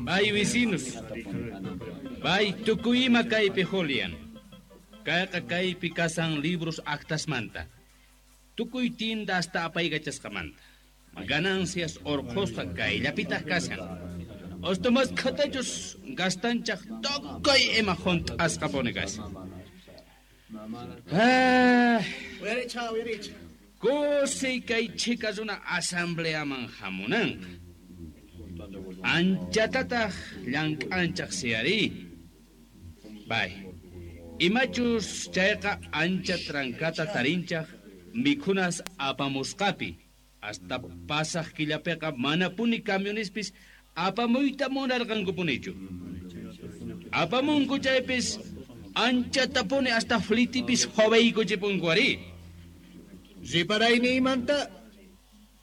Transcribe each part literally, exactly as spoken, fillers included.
Bay vecinos. Bay tukuyima kaypi Julian. Kayqa kaypi kasan libros actasmanta. Tukuy tienda hasta apaykachasqamanta. Ganancias orqhusqa kayllapitaq kashan. Hasta mas khatachus gastanchaq tukuy ima hunt'asqapuni kashan. Ah, Uyaricha, uyaricha. Kusiy kay chhika runa asambleaman hamunanqa. Anchatataq llank'anchaq siyari. Bay. Imachus chayqa ancha trancata tarinchaq mikhunas apamusqapi. Hasta pasaq killapiqa manapuni camionespis apamuyta munarqankupunichu. Apamunku chaypis anchatapuni hasta flitipis joveykuchipunku ari. Riparaynimanta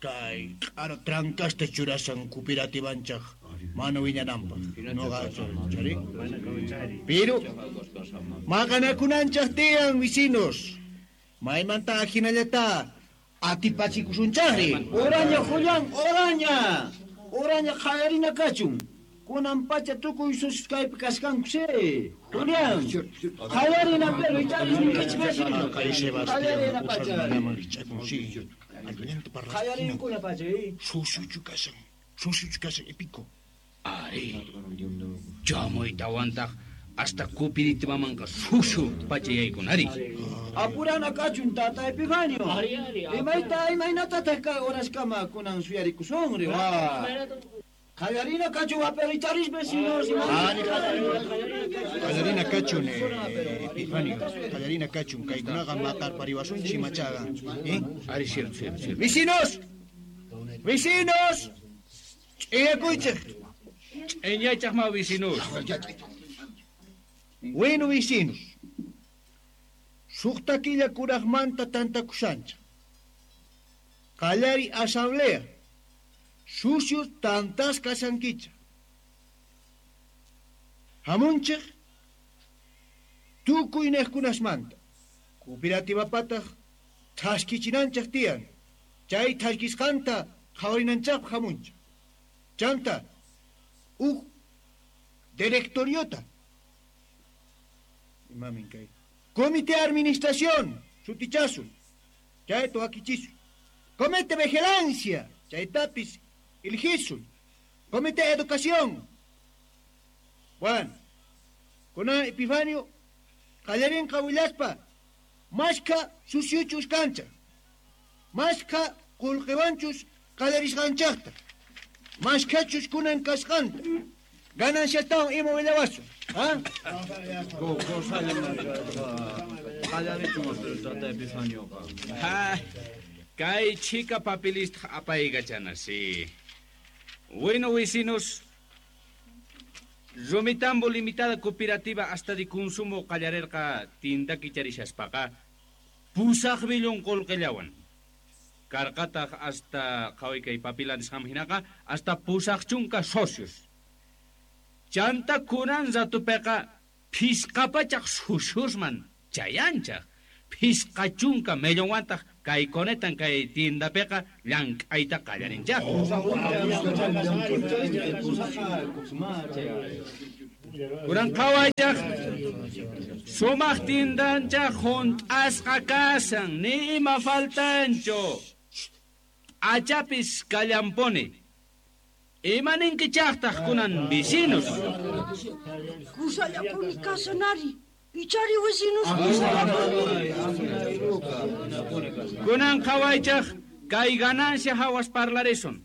kay q'ara trancasta churasan cooperativanchaq mana wiñananpaq. Noqa chari. Pero maqanakunanchaq tiyan vecinos. Maymanta ajinallata atipachikusunchaqri. Oraña, Julián, oraña. Oraña qallarina kachun. Kunan pacha tukuy sucios kaypi kasqanku sí. Julián, qallarina pero ichapis ninkichik vecino. Kay Sebastián Qallarina pacha. runaman richakun sí. Allinta parlasqina. Qallarinkuna pacha, eh. Susuchu kashan. Susuchu kashan epico. Ari. Chamuytawantaq hasta cooperativamanqa susu pachayaykunari. Apurana kachun tata Epifanio. Imayta imaynatataq kay horaskama kunan suyarikusunri wa. Qallarina kachun apericharis vecinos. Qallarina kachun eh, Epifanio. Qallarina kachun kaykunaqa maqarpariwasunchik machaqa. ¿Eh? Ari, cierto, cierto, cierto. Vecinos. Vecinos. Ch'iyakuychik. Ch'iñaychaq ma vecinos. Bueno, vecinos. Suqta killa kuraqmanta tantakushanchik. Qallari asamblea. Sucios tantas kashankichik. Hamunchik tukuy niqkunasmanta. Cooperativapataq thaskichinanchik tiyan. Chay thaskisqanta qhawarinanchikpaq hamunchik. Chanta uj directoriota. Imamin kay. Comité de administración, sutichasun. Chayta wakichisun. Comité de vigilancia, chaytapis eligisun. Comité de educación. Bueno, kunan Epifanio, qallarinqa willaspa, mashkha suciuchus kancha. Mashkha qullqiwanchus qallarisqanchaqta. Mashkhachus kunan kasqanta. Gananciatawan ima willawasun. ¿Ah? Ha, kay chhika papelista apaykachana, sí. Bueno, vecinos, Rumitambo Limitada Cooperativa hasta de consumo qallarerqa tinda kicharishaspaqa pusaq millón qullqillawan. Karqataq hasta qhaway kay papila nisqanman hinaqa hasta pusaq chunka socios. Chanta kunan ratupiqa phisqa pachaq suciosman chayanchaq. Phisqa chunka millonwantaq kay conetan kay tiendapiqa llank'ayta qallarinchaq. Kunan qhawaychaq sumaq tiendanchaq hunt'asqa kasan ni ima faltanchu. Achapis kallampuni. Ima ninkichaqtaq kunan vecinos. Kusallapuni kasanari. Ichari vecinos kusallapuni. Kunan qhawaychaq kay ganancia hawas parlarisun.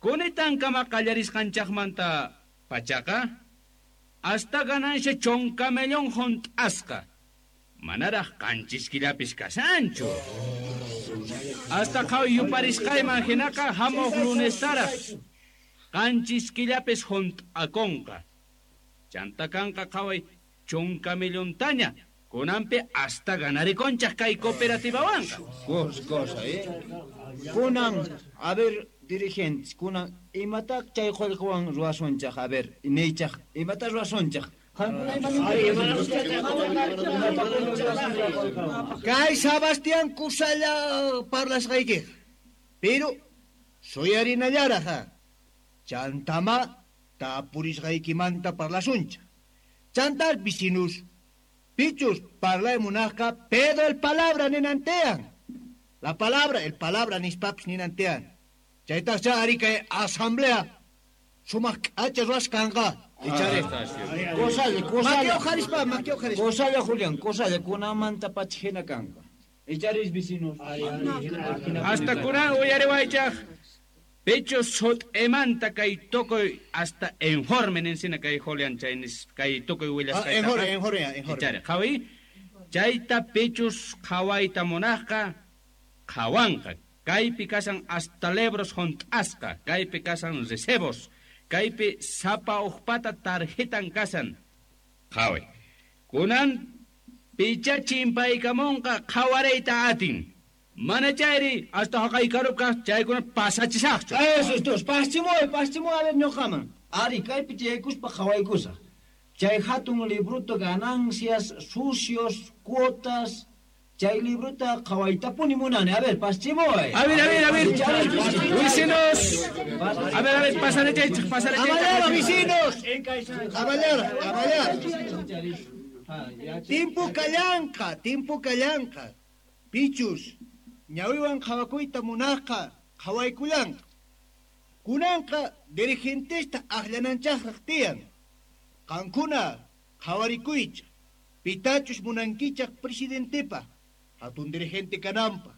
Kunitankama qallarisqanchaqmanta pachaqa hasta ganancia chunka millón hunt'asqa. Manaraq qanchis killapis kasanchu. Hasta qhaway yuparisqayman hinaqa hamuq lunestaraq qanchis killapis hunt'akunqa. Chanta kanqa qhaway chunka millontaña. Kunanpi hasta ganarikonchaq kay cooperativawanqa. Cosa, cosa, eh? Kunan, a ver, dirigentes, kunan, imataq chay qullqiwan ruwasunchaq, a ver, niychaq, imata ruwasunchaq? Kay Sebastián kusalla parlasqaykiq. Pero Suyarinallaraq ha. Chantama tapurisqaykimanta parlasuncha. Chantal vecinos, pichus parlay munajqa Pedro el palabra ninantean. La palabra, el palabra nispapis ninantean. Chaytaqcha ari kay asamblea sumaq k'acha ruwasqanqa. Ichari. Kosalla, kosalla. Maki uqharispa, maki uqharispa. Kosalla, Julián, kosalla, kunamanta pacha hina kanqa. Icharis vecinos. Hasta kunan uyariwaychaq. Pecho sot'emanta kay tukuy hasta informe ninsina kay Julián chay nis kay tukuy willasqaytaqa. Informe, informe, informe. Ichari, qhawi. Chayta pechus qhawayta munaqqa qhawanqa. Kaypi kasan hasta lebros junt'asqa, kaypi kasan recebos, kaypi sapa uqpata tarjetan kasan. Qhawi. Kunan picha chimpaykamunqa qhawarayta atin. Mana chayri hasta haqaykarupqa chaykuna pasachisaqchu. Eso es dos, paschimuy, paschimuy a ver ñuqaman. Ari kaypi tiyaykuspa qhawaykusaq. Chay hatun libruta ganancias, sucios, cuotas. Chay libruta qhawaytapuni munani. A ver, paschimuy. A ver, a ver, a ver. Vecinos. A ver, a ver, pasarechaychik, pasarechaychik. Amallar, vecinos. Amallar, amallar. Timpu kallanqa, timpu kallanqa. Pichus, ñawiwan qhawakuyta munaqqa, qhawaykullanqa. Kunanqa dirigentesta aqllananchaqraq tiyan. Qankuna qhawarikuychaq. Pitachus munankichaq presidentepa, hatun dirigente kananpaq.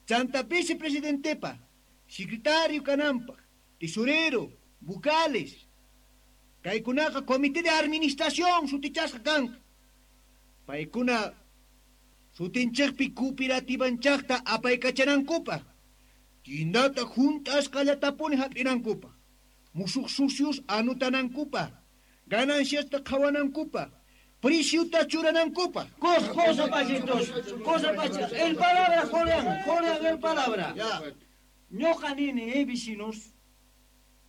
Chanta vicepresidentepa, secretario kananpaq, tesorero, vocales. Kaykunaqa comité de administración sutichasqa kanqa. Paykuna sutinchaqpi cooperativanchaqta apaykachanankupaq. Tindata junt'asqallatapuni hap'inankupaq. Musuq sucios anutanankupaq. Gananciasta qhawanankupaq. Preciuta churanankupaq. Cosa, cosa, pachitos, cosa, pachitos. El palabra, Julián, Julián, el palabra. Ñuqa nini, eh, vecinos.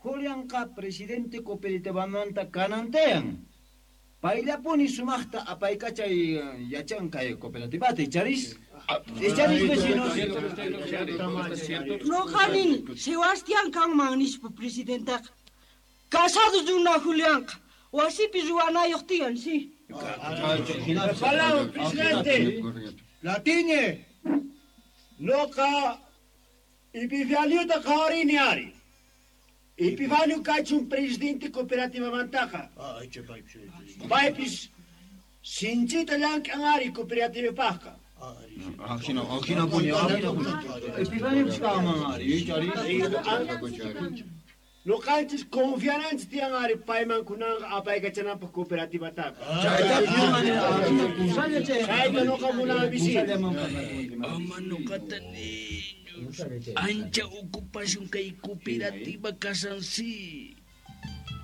Julianqa presidente cooperativamanta kanantean. Payllapuni sumaqta apaykachay yachan kay cooperativata, icharis? Icharis, vecinos. Ñuqa nini, Sebastián kanman nispa presidentaqa. Casado runa Julianqa. Wasipi ruwanayuq tiyan, sí. Palabra, presidente. Latiñe. Noqa Epifaniuta qhawarini ari. Epifanio kachun presidente cooperativamantaqa. Paypis sinchita llank'an ari cooperativapaqqa. Ajina, ajinapuni, ajinapuni. Epifanio kanman ari, icharis. Noqanchis confiananchis tiyan ari payman kunanqa apaykachananpaq cooperativataqa. Chayta noqa munani vecino. Ama noqata niños. Ancha ocupación kay cooperativa kasan sí.